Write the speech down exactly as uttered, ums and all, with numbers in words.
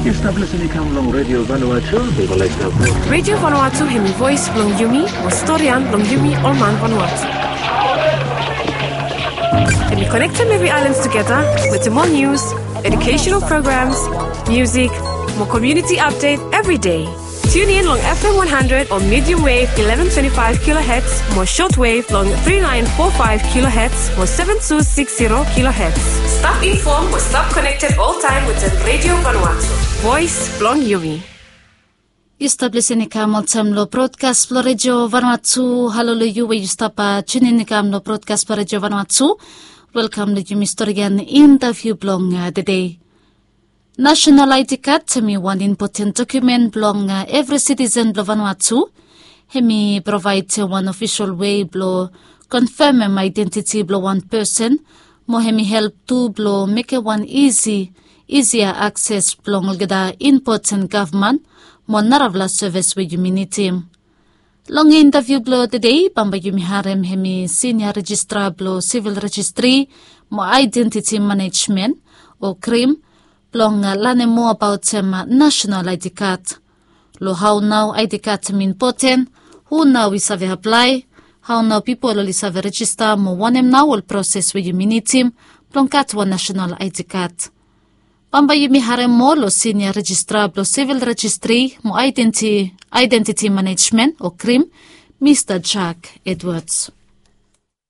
Yu stap lisin i kam long Radio Vanuatu. Yu go laik stap. Radio Vanuatu hemi voes blong yumi, mo storian blong yumi ol man Vanuatu. Hemi konektem evri aelan tugeta wetem ol nius, educational programs, music, mo community update evri dei. Tune in long F M one hundred o medium wave eleven twenty-five kilohertz mo short wave long three nine four five kilohertz mo seven two six zero kilohertz. Stap inform mo stap connected all time wetem Radio Vanuatu. Voes blong yumi. Yu stap lisin i kam oltaem long brodkas blong Radio Vanuatu. Halo long yu we yu stap, ah, tunin i kam long brodkas blong Radio Vanuatu. Welkam long yumi storian intaviu blong, ah, tede. National I D card hemi wan impoten dokumen blong, ah, evri sitisen blong Vanuatu. Hemi provaed wan ofisol wei blong konfemem aedentiti blong wan pesen, mo hemi help tu blong mekem wan isi, isia akses blong olgeta impoten gavman mo narafala sevis we yumi nidim. Long intaviu blong tede, bambae yumi harem hemi sinia rejistra blong sivil rejistri mo aedentiti manejmen, o krim, blong, ah, lanem moa abaotem, ah, nasenal I D card. Long hao nao I D card hemi impoten, hu nao i save aplae, hao nao pipol oli save rejista mo wanem nao ol proses we yumi nidim blong gat wan nasenal I D card. Bambae yumi harem moa long sinia rejistra blong sivil rejistri mo aedenti-, aedentiti manejmen o krim, Mista Jack Edwards.